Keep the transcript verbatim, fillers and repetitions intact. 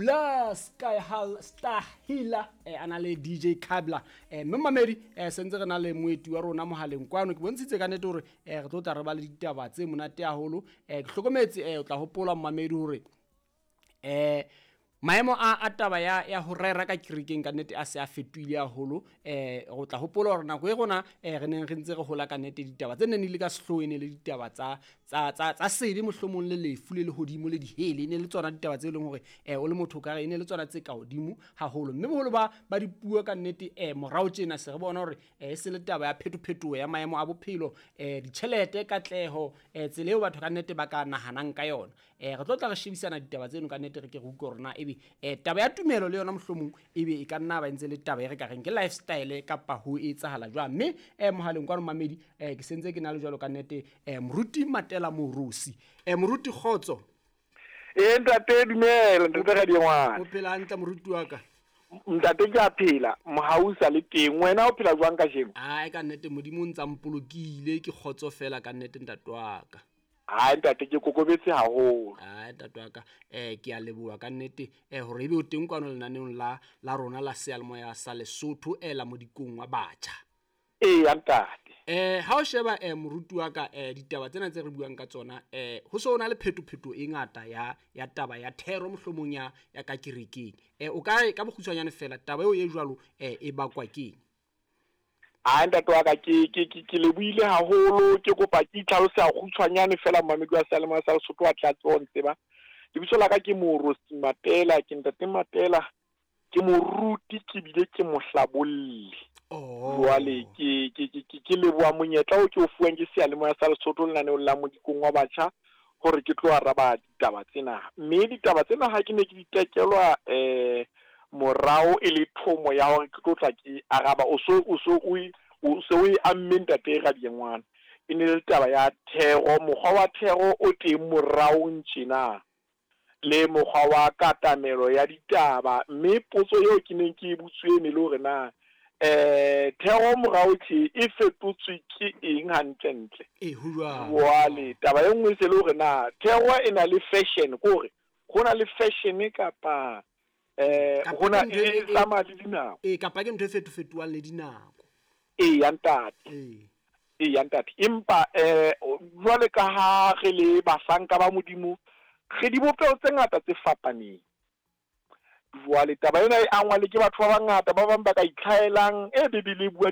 La Sky Hal Stahila eh, a na le D J Kabla. Eh, mme mamedi eh, sentse re na le moeti wa rona mohaleng kwano. Ke bontshitse ka nnete hore eh, re tlo tla re ba le ditaba tse monate haholo. Eh, ke hlokometse eh, o tla hopola mamedi hore eh, maemo a, a taba ya, ya ho rera ka kerekeng ka nnete a se a fetohile haholo. Eh, o tla hopola hore nako e rona, eh, re neng re ntse re hola ka nnete ditaba tse neng di le ka sehloohong e ne le ditaba tsa, tsa, tsa, tsa sebe mohlomong le lefu le lehodimo le dihele. E ne le tsona ditaba tse leng hore, eh, o le motho o ka re e ne le tsona tse ka hodimo haholo. Mme boholo ba, ba dipuo ka nnete, eh, morao tjena se re bona hore, eh, e se le taba ya phetophetoho ya maemo a bophelo, eh, ditjhelete, katleho, eh, tsela eo batho ka nnete ba ka nahanang ka yona. Eh, re tlo tla re shebisana ditaba tseno ka nnete re ke re utlwe hore na ebe, eh, taba ya tumelo le yona mohlomong ebe e ka nna ba ntse le taba e re ka reng ke lifestyle kapa ho etsahala jwang. Mme, eh, mohaleng kwano mamedi, eh, ke sentse ke na le jwalo ka nnete, eh, Moruti Matela Moorosi. Eh, Moruti kgotso. Eh, ntate dumela, ntate Radiengwana. O phela hantle moruti wa ka? Ntate ke a phela, mohau sa le teng. Wena o phela jwang kajeno? Ai, ka nnete Modimo o ntsa mpolokile, ke kgotso fela ka nnete ntate wa ka. Ai, ntate ke kokobetse haholo. Ai, ntate wa ka, eh, ke a leboha ka nnete, eh, hore ebe o teng kwano lenaneong la, la rona la Seyalemoya sa Lesotho, eh, la Modikong wa Batjha. Eya, ntate. Eh, ha o sheba, eh, moruti wa ka, eh, ditaba tsena tse re buang ka tsona, eh, ho so na le phetophetoho e ngata ya, ya taba ya thero mohlomong ya, ya ka kerekeng. Eh, o ka re ka bokgutshwanyane fela taba eo e jwalo, eh, e bakwa keng? Ai, ntate wa ka, ke, ke, ke, ke lebohile haholo, ke kopa ke itlhalose kgutshwanyane fela mamedi wa Seyalemoya sa Lesotho a tla tseba ho ntseba. Lebitso la ka ke Moorosi Matela, ke ntate Matela, ke moruti ke bile ke mohlabolli. Oh. Jwale ke, ke, ke, ke, ke leboha monyetla oo ke o fuwang ke Seyalemoya sa Lesotho lenaneong la Modikong wa Batjha hore ke tlo araba ditaba tsena. Mme ditaba tsena ha ke ne ke di tekelwa, eh, morao e le thomo ya hore ke tlo tla ke araba, o so, o so o e, o so o e amme ntate Radiengwana. E ne le taba ya thero, mokgwa wa thero o teng moraong tjena le mokgwa wa katamelo ya ditaba. Mme potso eo ke neng ke e butswe e ne le hore na, eh, thero morao tje e fetotswe ke eng hantlentle? Eh, ho jwang? Jwale taba e nngwe e se le hore na thero e na le fashion, ke hore ho na le fashion kapa, eh, Kapa ho na ke ntho e, e e, tsamaya le dinako. Eh, kapa ke ntho e fetofetohang le dinako. Eya, ntate. Ee. Eya, ntate. Empa, eh, jwale ka ha re le bahlanka ba Modimo, re dibopeho tse ngata tse fapaneng. Jwale taba ena e angwa le ke batho ba bangata, ba bang ba ka itlhaelang, e Bibele e bua